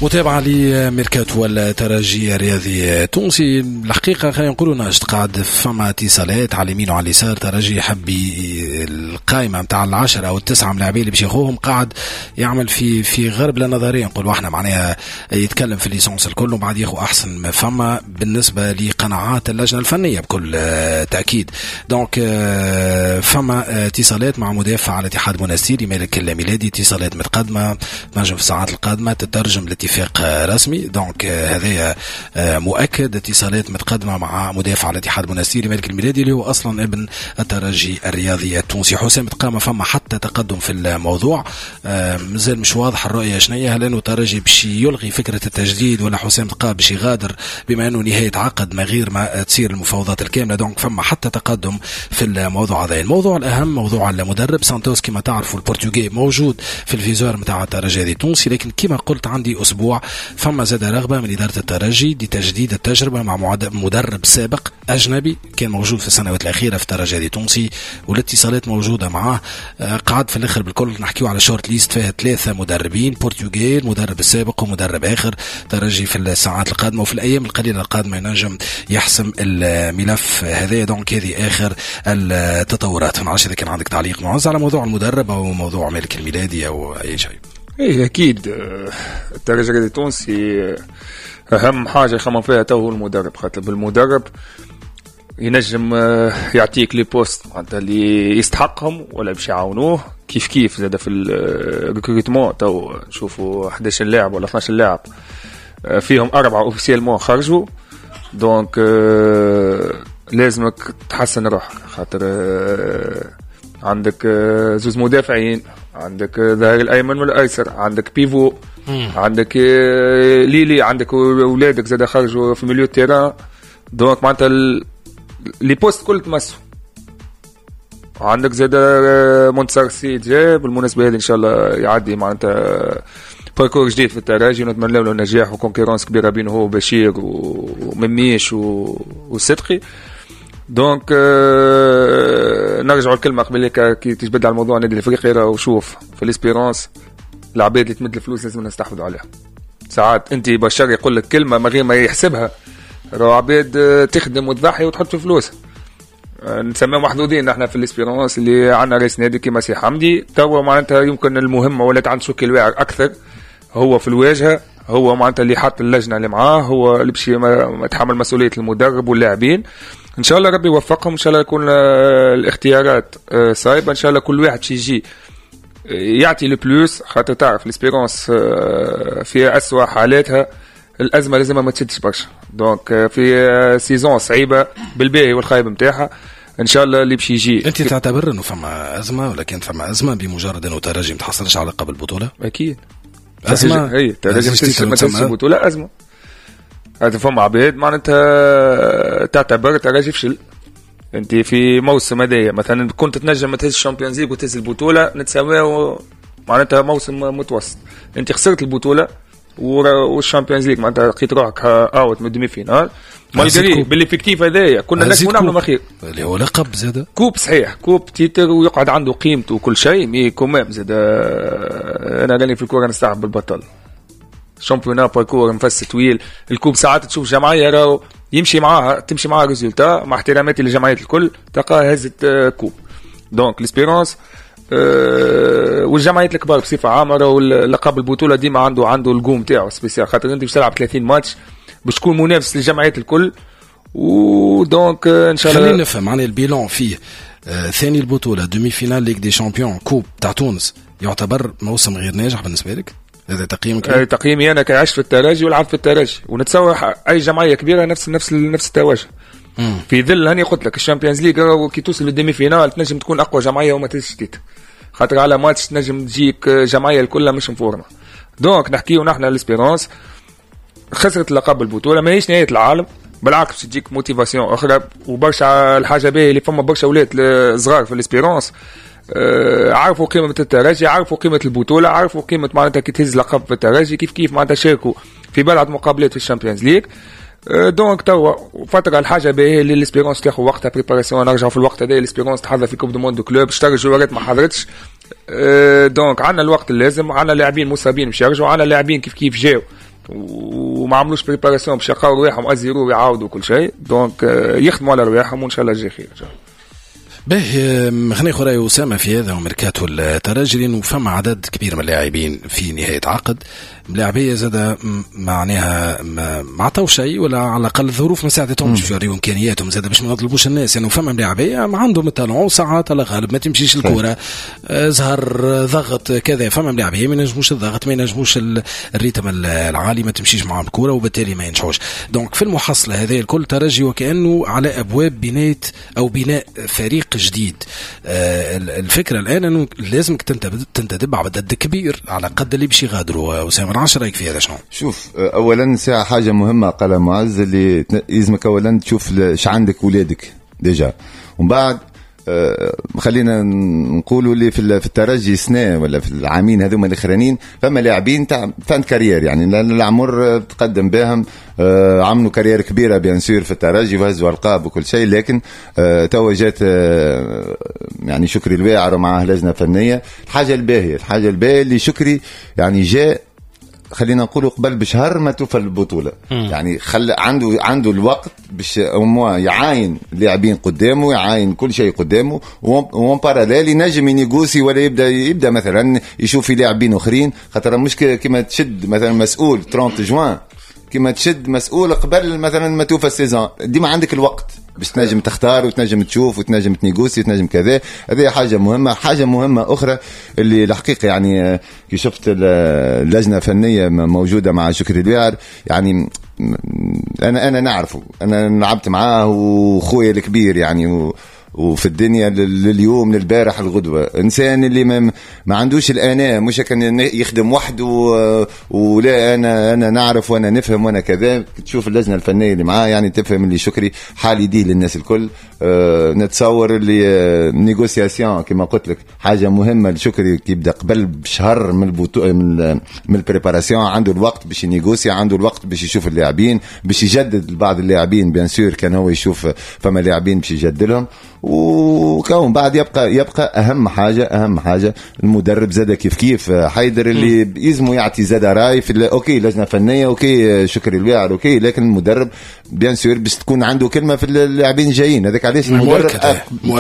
متابعة لميركاتو الترجي الرياضي التونسي. الحقيقة خلينا نقولوا ناشط، قاعد فما اتصالات على اليمين وعلى اليسار. ترجي يحب القائمة نتاع العشرة أو التسعة ملاعبين اللي باش ياخوهم، قاعد يعمل في غربلة نظرية نقولوا احنا، معناها يتكلم في l'essentiel الكل وبعد ياخو أحسن ما فما بالنسبة لقناعات اللجنة الفنية بكل تأكيد. donc فما اتصالات مع مدافع على الاتحاد المونستيري مالك الميلادي، اتصالات متقدمة تنجم في الساعات القادمة تترجم لاتفاق رسمي. donc هذايا مؤكد، اتصالات متقدمة مع مدافع الاتحاد المونستيري مالك الميلادي اللي هو أصلا ابن الترجي الرياضي التونسي. حسام تقام فما حتى تقدم في الموضوع، مازال مش واضح الرؤية شنية، هل أنه الترجي باش يلغي فكرة التجديد ولا حسام تقا باش يغادر بما أنه نهاية عقد ما غير ما تصير المفاوضات الكاملة. donc فما حتى تقدم في الموضوع هذا. الموضوع الأهم موضوع المدرب سانتوس، كما تعرفوا البرتغالي موجود في ال viseur نتاع الترجي التونسي، لكن كما قلت عندي أسبوع فما زاد رغبة من إدارة الترجي لتجديد التجربة مع مدرب سابق أجنبي كان موجود في السنوات الأخيرة في الترجي التونسي، والاتصالات موجودة معاه. قعد في الآخر بالكل نحكيو على short liste فيها 3 مدربين برتغال، المدرب السابق ومدرب آخر. ترجي في الساعات القادمة وفي الأيام القليلة القادمة ينجم يحسم الملف هذا. donc هذه آخر التطورات. ما نعرفش إذا كان عندك تعليق معز على موضوع المدرب أو موضوع مالك الميلادي أو أي شيء. ايه اكيد الترجي التونسي اهم حاجة يخمم فيها تو هو المدرب، خاطر بالمدرب ينجم يعطيك les postes معناتها اللي يستحقهم ولا باش يعاونوه. كيف كيف زاد في ال recrutement تو نشوفوا 11 لاعب ولا 12 لاعب فيهم 4 officiellement خرجوا. donc لازمك تحسن روحك، خاطر عندك زوز مدافعين، عندك ظهير الايمن والايسر، عندك pivot، عندك ليلي، عندك اولادك زاد خرجوا في milieu terrain. donc معناتها les postes كل تمسوا. عندك زاد منتصر السيد جاء بالمناسبة هذه، ان شاء الله يعدي معناتها parcours جديد في الترجي ونتمنى له النجاح و concurrence كبيرة بينه هو وبشير ومميش وصدقي. donc نرجعوا الكلمة قبل كي تجبد على الموضوع النادي الافريقي، راهو شوف في l'Espérance العباد اللي تمد الفلوس لازم نستحفظوا عليها. ساعات انت بشر يقول لك كلمة من غير ما يحسبها، راهو عباد تخدم وتضحي وتحط في فلوس. نسميهم محظوظين احنا في l'Espérance اللي عندنا رئيس نادي كيما سي حمدي. توا معناتها يمكن المهمة ولات عند شوكي الواعر اكثر، هو في الواجهة، هو معناتها اللي حط اللجنة اللي معاه، هو اللي باش يتحمل مسؤولية المدرب واللاعبين. ان شاء الله ربي يوفقهم، ان شاء الله يكون الاختيارات صايبه، ان شاء الله كل واحد يجي يعطي le plus، خاطر تعرف l'Espérance في اسوء حالاتها الازمة لازم ما تشدش برشا. donc في saison صعيبة بالباهي والخايب نتاعها، ان شاء الله اللي باش يجي. انت تعتبر انه فما ازمة ولا كانت فما ازمة بمجرد انه ترجي ما تحصلش على لقب البطولة؟ اكيد ازمة، اي ترجي ما تحصلش البطولة ازمة. هذا فما عباد معناتها تعتبر ترجي فشل. انت في موسم هذايا مثلا كنت تنجم تهز ال Champions League وتهز البطولة، نتساوي معناتها موسم متوسط. انت خسرت البطولة وال Champions League، معناتها لقيت روحك out من demi-finale، malgré بال effectif هذايا كنا نجموا نعملوا ما خير اللي هو لقب زاد coupe، صحيح coupe titre ويقعد عنده قيمته وكل شيء، mais quand même زاد انا راني في الكورة نستعب بالبطل. championnat parcours نفس طويل، ال coupe ساعات تشوف جمعية راهو يمشي معاها تمشي معاها résultat، مع احتراماتي للجمعيات الكل تلقاها هزت coupe. donc l'Espérance والجمعيات الكبار بصفة عامة راهو لقب البطولة ديما عنده القوم تاعو spécial، خاطر انت باش تلعب 30 ماتش باش تكون منافس للجمعيات الكل. و donc ان شاء الله خلينا نفهم معناها ال bilan فيه ثاني البطولة، demi-finale Ligue des champions، coupe تاع تونس، يعتبر موسم غير ناجح بالنسبة لك؟ هذا تقييمك؟ تقييمي انا كعشت في الترجي ولعبت في الترجي، ونتصور اي جمعية كبيرة نفس نفس نفس التوجه. في ظل هاني قلت لك ال Champions League كي توصل لل demi-finale تنجم تكون اقوى جمعية وما تهزش titre، خاطر على ماتش تنجم تجيك جمعية الكلها مش مفورمه. donc نحكيو نحن l'Espérance خسرت لقب البطولة ماهيش نهاية العالم، بالعكس تجيك motivation اخرى. وبرشا الحاجة باهيه اللي فما برشا اولاد صغار في l'Espérance عرفوا قيمة الترجي، عرفوا قيمة البطولة، عرفوا قيمة معناتها كي تهز لقب في الترجي، كيف كيف معناتها شاركوا في بلعة مقابلات في ال Champions League. donc توا فترة الحاجة باهيه اللي l'Espérance تاخذ وقتها préparation، نرجعوا في الوقت هذا l'Espérance تحضر في Coupe du monde clubs، اشترى جوارات ما حضرتش. donc عندنا الوقت اللازم، عندنا لاعبين مصابين باش يرجعوا، عندنا لاعبين كيف كيف جاوا وما عملوش préparation باش يلقاو رواحهم à zéro ويعاودوا كل شيء. donc يخدموا على رواحهم وان شاء الله جاي خير ان شاء الله. باهي، خلينا ناخذ راي اسامة في هذا وميركاتو الترجي، لانه فما عدد كبير من اللاعبين في نهاية عقد، ملاعبيه زاد معناها ما عطاو شيء، ولا على الاقل الظروف ما ساعدتهمش باش يوريو امكانياتهم زاد، باش ما نظلموش الناس، لانه يعني فما ملاعبيه ما عندهم ال talent، ساعات على غالب ما تمشيش الكره، زهر، ضغط، كذا. فما ملاعبيه ما ينجموش الضغط، ما ينجموش ال rythme العالي، ما تمشيش معاهم الكره وبالتالي ما ينجحوش. donc في المحصلة هذه الكل ترجي وكانه على ابواب بناية او بناء فريق جديد. الفكرة الان انه لازمك تنتدب عدد كبير على قد اللي باش يغادروا. اسامة، ايش رايك في هذا شنو؟ شوف، اولا ساعة حاجة مهمة قالها معز، اللي يلزمك اولا تشوف اش عندك ولادك déjà، ومن بعد خلينا نقولوا اللي في الترجي سنة ولا في العامين هذوما الاخرانيين فما لاعبين تاع fin carrière، يعني العمر تقدم بهم، عملوا carrière كبيرة bien sûr في الترجي وهزوا القاب وكل شيء، لكن توا جات يعني شكري الواعر ومعاه لجنة فنيه. الحاجه الباهيه اللي شكري يعني جاء خلينا نقولوا قبل بشهر ما توفى البطوله. يعني خلى عنده الوقت باش au moins يعاين اللاعبين قدامه، يعاين كل شيء قدامه، و en parallèle ينجم ي négocier ولا يبدا مثلا يشوف في لاعبين اخرين، خاطر مش كيما تشد مثلا مسؤول 30 جوان كما تشد مسؤول قبل مثلا ما توفى ال saison. ديما عندك الوقت باش تنجم تختار وتنجم تشوف وتنجم ت négocier وتنجم كذا. هذه حاجة مهمه. حاجة مهمة اخرى اللي الحقيقة يعني كي شفت اللجنة الفنية موجودة مع شكري الواعر، يعني انا نعرفه، انا لعبت معاه وخويا الكبير يعني وفي الدنيا لليوم للبارح الغدوة، إنسان اللي ما عندوش الأنا، مش كان يخدم وحده ولا أنا نعرف وأنا نفهم وأنا كذا. تشوف اللجنة الفنية اللي معاه يعني تفهم اللي شكري حال يديه للناس الكل. نتصور اللي négociation كما قلت لك حاجة مهمة لشكري، يبدا قبل بشهر من البطو من ال préparation، عنده الوقت باش ي négocier، عنده الوقت باش يشوف اللاعبين، باش يجدد بعض اللاعبين bien sûr، كان هو يشوف فما لاعبين باش يجدد لهم. وكون بعد يبقى اهم حاجه المدرب زاد كيف كيف حيدر اللي يلزمو يعطي زاد راي في OK لجنة فنيه، OK شكري الواعر، OK، لكن المدرب bien sûr باش تكون عنده كلمة في اللاعبين الجايين. هذاك علاش المدرب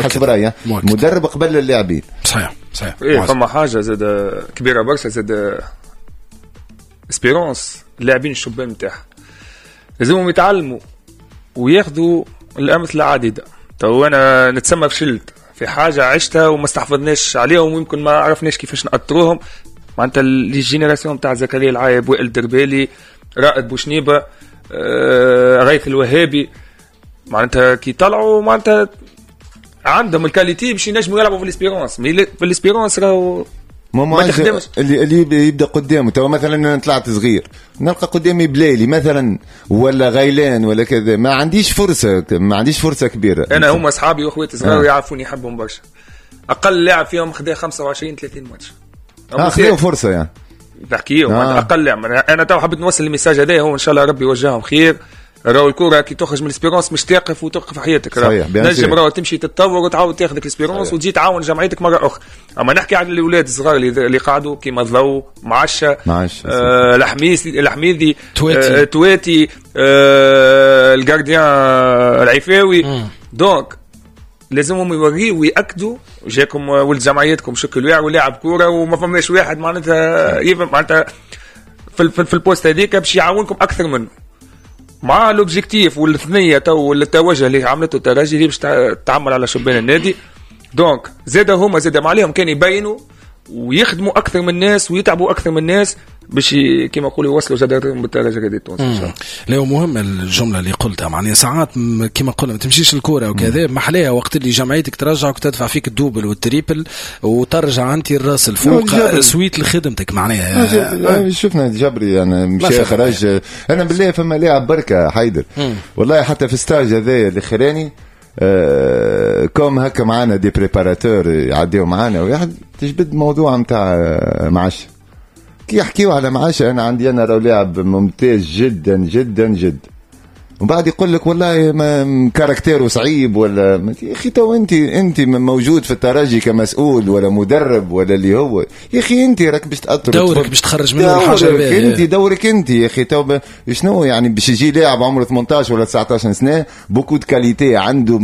حسب رايي المدرب قبل اللاعبين. صحيح. ايه، فما حاجة زاد كبيرة برشا زاد Espérance، اللاعبين الشبان نتاعها لازمهم يتعلموا وياخذوا الامثلة عديده. تو انا نتسمى فشلت في حاجة عشتها وما استحفظناش عليهم ويمكن ما عرفناش كيفاش نأطروهم. معناتها les générations تاع زكريا العايب، وائل دربالي، رائد بوشنيبه، غيث الوهابي، معناتها كي طلعوا معناتها عندهم ال qualité باش ينجموا يلعبوا في l'Espérance، mais في l'Espérance راهو ما تخدمش. اللي يبدا قدامه تو مثلا انا طلعت صغير نلقى قدامي بلايلي مثلا ولا غيلان ولا كذا، ما عنديش فرصه كبيره. انا هما اصحابي واخواتي صغار يعرفوني، يحبهم برشا. اقل لاعب فيهم خدا 25 30 ماتش. خذوا فرصة يعني. نحكيهم اقل لاعب. انا تو حبيت نوصل ال message هذا، هو ان شاء الله ربي يوجههم خير. راهو الكره كي تخرج من l'Espérance مش تقف وتوقف حياتك. صحيح. نجم راهو تمشي تتطور وتعاود تاخذ l'Espérance وتجي تعاون جمعيتك مرة اخرى. اما نحكي على الاولاد الصغار اللي قعدوا كيما الضو، معشة، الحميس، الحميدي، تواتي، تواتي، ال gardien العفاوي. donc لازمهم يوريوا ويأكدوا جاكم ولد جمعيتكم شكل واعر ولاعب كورة وما فماش واحد معناتها يفهم معناتها في ال poste هذيك باش يعاونكم اكثر منه. مع l'objectif والثنيه تو والتوجه اللي عملته الترجي اللي باش تعمل على شبان النادي، donc زاد هما زاد ما عليهم كان يبينوا ويخدموا اكثر من الناس ويتعبوا اكثر من الناس باش كيما نقولوا يوصلوا جدارتهم بالترجي الرياضي التونسي ان شاء الله. لا، مهم الجملة اللي قلتها، معناها ساعات كيما قلنا ما تمشيش الكورة وكذا، محلاها وقت اللي جمعيتك ترجعك وتدفع فيك ال double وال triple وترجع انت الراس الفوق suite لخدمتك معناها. شفنا جبري يعني مشى خرج. انا بالله فما لاعب بركة حيدر، والله حتى في stage هذايا الاخراني comme هكا معانا des préparateurs يعديو معانا، واحد تجبد موضوع نتاع معاش، كي يحكيو على معاش، انا عندي انا راهو لاعب ممتاز جدا جدا جدا. ومن بعد يقول لك والله ما caractère و صعيب ولا يا اخي. تو انت موجود في الترجي كمسؤول ولا مدرب ولا اللي هو، يا اخي انت راك باش تاثر، دورك باش تخرج منه الحاجة الباهيه، انت دورك انت يا اخي. تو شنو يعني باش يجي لاعب عمره 18 ولا 19 سنة beaucoup de qualités عنده،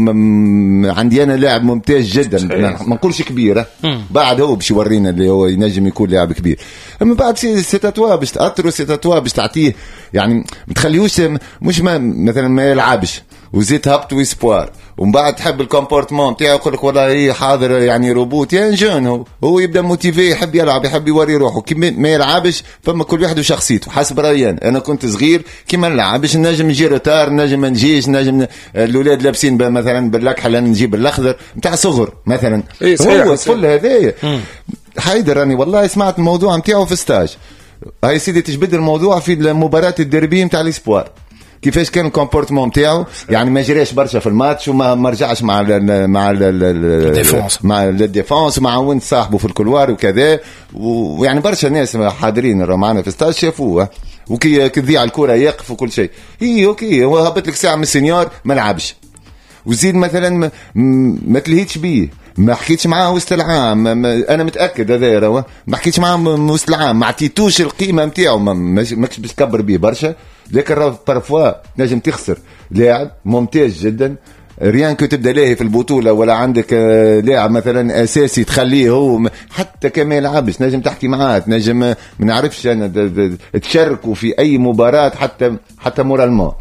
عندي انا لاعب ممتاز جدا، ما نقولش كبيرة، بعد هو باش يورينا اللي هو ينجم يكون لاعب كبير. اما بعد c'est à toi باش تاثر، c'est à toi باش تعطيه، يعني ما تخليهوش مش ما مثلا ما يلعبش وزيد هبط و espoir، ومن بعد تحب ال comportement تاعو يقول لك والله هي حاضر يعني روبوت يا jeune، هو يبدا motivé، يحب يلعب، يحب يوري روحه. كي ما يلعبش فما كل واحد وشخصيته حسب رايي. انا كنت صغير كي ما نلعبش نجم نجي retard، نجم ما نجيش، نجم الاولاد لابسين مثلا بالاكحل انا نجيب بالاخضر نتاع صغر مثلا. إيه هو الطفل هذايا حيدر راني والله سمعت الموضوع نتاعو في stage. هاي سيدي تجبد الموضوع في مباراة الديربي نتاع ال espoir، كيفاش كان ال comportement نتاعو، يعني ما جراش برشا في الماتش وما رجعش مع ال مع ال défense، مع ال défense، ومع ونت صاحبه في ال couloir وكذا. ويعني برشا ناس حاضرين معنا في ستاج شافوه، وكي تضيع الكره يقف وكل شيء. اي OK هو هبط لك ساعة من ال senior ما لعبش، وزيد مثلا ما تلهيتش بيه، ما حكيتش معاه وسط العام، انا متاكد هذا راه ما حكيتش معاه وسط العام، ما عطيتوش القيمة نتاعو، ماكش باش تكبر بيه برشا. لكن راه parfois نجم تخسر لاعب ممتاز جدا rien que تبدا لاهي في البطولة، ولا عندك لاعب مثلا اساسي تخليه هو حتى كما يلعبش نجم تحكي معاه، نجم ما نعرفش انا تشاركوا في اي مباراة حتى moralement،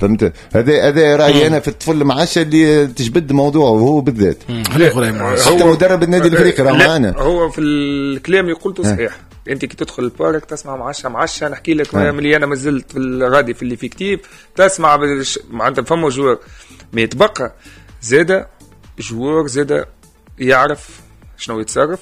فهمت؟ هذا رايي انا في الطفل معاش اللي تجبد موضوعه هو بالذات. حتى مدرب النادي الافريقي راه معانا. هو في الكلام اللي قلته صحيح. انت كي تدخل ال parc تسمع معشة نحكي لك ملي انا مازلت في الغادي في l'effectif تسمع معناتها فما joueur، mais يتبقى زاده joueur زاده يعرف شنو يتصرف.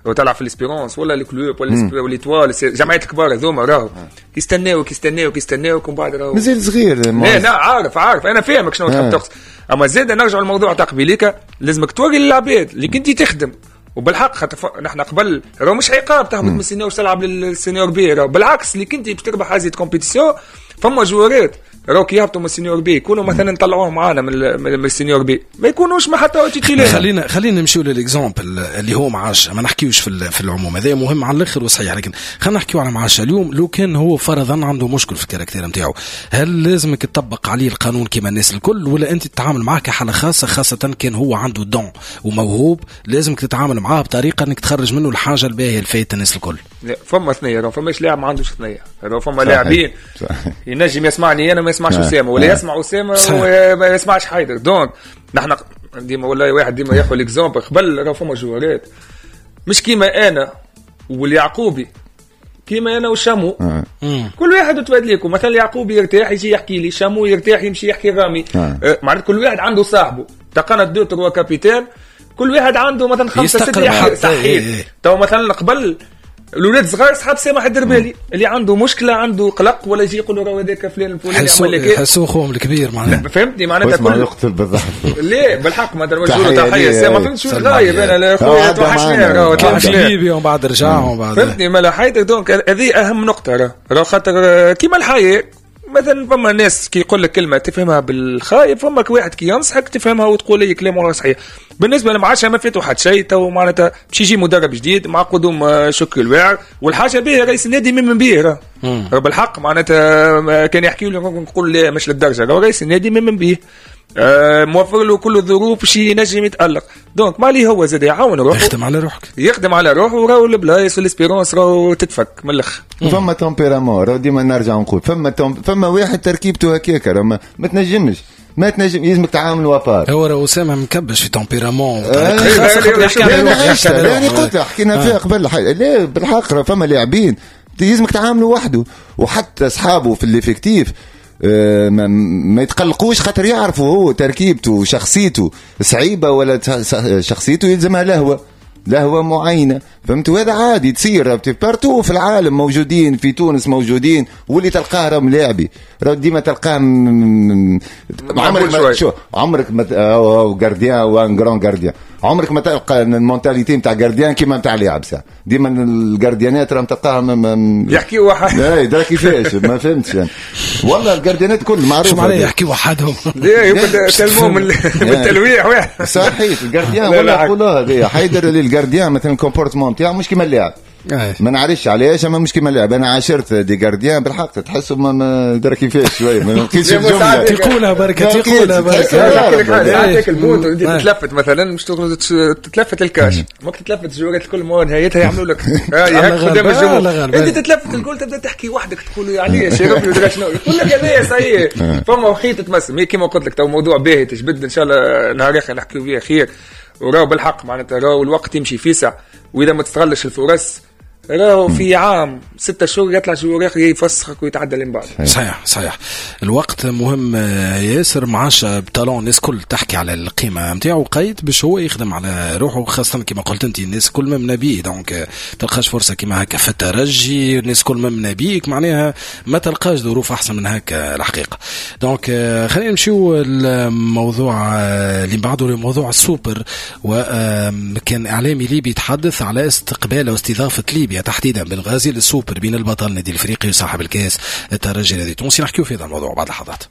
لو تلعب في l'Espérance ولا ال Club ولا l'Étoile، الجمعيات الكبار هذوما راهو يستناوك يستناوك يستناوك ومن بعد راهو مازال صغير. لا عارف انا فاهمك شنو تحب تقصد. اما زاد نرجع للموضوع تاع قبيليك، لازمك توري للعباد اللي كنتي تخدم وبالحق. خاطر نحن قبل راهو مش عقاب تهبط من ال senior تلعب لل senior B، راهو بالعكس اللي كنتي باش تربح هذه compétition. فما joueur ات راهو كي يهبطوا من ال senior B يكونوا مثلا طلعوهم معانا من ال senior B، ما يكونوش ما حتى titulaires. خلينا نمشيو لل exemple اللي هو معاش، ما نحكيوش في العموم، هذا مهم على الاخر وصحيح، لكن خلينا نحكيو على معاش اليوم. لو كان هو فرضا عنده مشكل في ال caractère نتاعو، هل لازمك تطبق عليه القانون كما الناس الكل، ولا انت تتعامل معاه كحاله خاصة، خاصة كان هو عنده don وموهوب لازمك تتعامل معاه بطريقة انك تخرج منه الحاجة الباهيه الفايته الناس الكل؟ لا فما ثنيه، راه فماش لاعب ما عندوش ثنيه، راه فما لاعبين ينجم يسمعني انا ما يسمعش اسامة، ولا يسمع اسامة وما يسمعش حيدر. donc نحن ديما والله واحد ديما ياخذ l'exemple قبل، راه فما joueur ات مش كيما انا واليعقوبي، كيما انا وشامو، كل واحد وتبادليكم. مثلا اليعقوبي يرتاح يجي يحكي لي، شامو يرتاح يمشي يحكي رامي، معناتها كل واحد عنده صاحبه. تقنا deux trois capitaines، كل واحد عنده مثلا 5 6 صحيح. تو مثلا قبل الاولاد صغار صحاب سامح الدربالي اللي عنده مشكلة عنده قلق ولا يجي يقول له راه هذاك فلان الفلاني عمل لك، يحسوا خوهم الكبير معناها، فهمتني معناتها كل يقتل بالضحك. ليه بالحق ما نوجهوا له تحية سامح، فهمت شو غايب انا لا خويا توحشني راه طلع في ليبيا ومن بعد رجع ومن بعد فهمتني مالا حياتك. donc هذه اهم نقطة راه خاطر كيما الحياة مثلا فما ناس كي يقول لك كلمة تفهمها بالخايب، فما واحد كي ينصحك تفهمها وتقول لي كلام والله صحيح. بالنسبة لمعاشه ما فاتوا حتى شيء، تو معناتها باش يجي مدرب جديد مع قدوم شكري الواعر، والحاجة به رئيس النادي من به راه بالحق معناتها كان يحكي لي نقول لا مش للدرجة، رئيس النادي من به موفر له كل الظروف باش ينجم يتالق. donc مالي هو زاد يعاون روحه، يخدم على روحك، يخدم على روحه، وراهو البلايص وال Espérance راهو تتفك من الاخر. فما tempérament راهو ديما نرجع نقول فما واحد تركيبته هكاك، راه ما تنجمش، ما تنجم يلزمك تعاملوا à part. هو راه اسامة مكبش في tempérament يعني قلت حكينا فيها قبل، لا بالحق فما لاعبين يلزمك تعاملوا وحده، وحتى اصحابه في l'effectif ما يتقلقوش خاطر يعرفوا هو تركيبته وشخصيته صعيبة ولا شخصيته يلزمها لهوه معينة، فهمت؟ وهذا عادي تصير partout في العالم، موجودين في تونس موجودين، واللي تلقاه راه ملاعبي راه ديما تلقاه عمرك ما شو عمرك ما gardien ou un grand gardien، عمرك ما تلقى ال mentalité نتاع gardien كيما نتاع لاعب. ساعة ديما ال gardien ات راهم تلقاهم يحكيوا وحدهم. اي درا كيفاش ما فهمتش يعني. والله ال gardien ات كل معروف شو معناها يحكيوا وحدهم؟ لا تلموا من التلويح واحد. صحيح ال gardien ولا يقولوها هذه حيدر اللي ال gardien مثلا ال comportement نتاعو مش كيما اللاعب. ما نعرفش علاش اما مش كيما اللاعب. انا عاشرت des gardiens بالحق تحسهم درا كيفاش شوية ما لقيتش الجملة تقولها بركة تقولها بركة. تاكل but وانت تتلفت مثلا مش تتلفت ال cage ماك تتلفت الجوارات الكل ما نهايتها يعملوا لك قدام الجمهور انت تتلفت الجول تبدا تحكي وحدك تقول علاش يا ربي ودرا شنو يقول لك هذايا صحيح فما وخيط تمس. mais كيما قلت لك تو موضوع باهي تجبد ان شاء الله نهار اخر نحكيو فيه خير. وراو بالحق معناتها راهو الوقت يمشي فيسع واذا ما تستغلش الفرص راهو في عام 6 شهور يطلع joueur يفسخك ويتعدى من بعد. صحيح صحيح الوقت مهم ياسر. معاش talent الناس كل تحكي على القيمة نتاعو قيد باش هو يخدم على روحه، خاصة كما قلت انت الناس كل ممنه بيه. donc تلقاش فرصة كما هكا في الترجي الناس كل ممنه بيك معناها ما تلقاش ظروف احسن من هكا الحقيقة. donc خلينا نمشيو الموضوع اللي بعده موضوع السوبر. وكان اعلامي ليبي يتحدث على استقبال واستضافه ليبيا تحديدا بنغازي للسوبر بين البطل النادي الافريقي وصاحب الكاس الترجي النادي التونسي. نحكيو في هذا الموضوع بعد لحظات.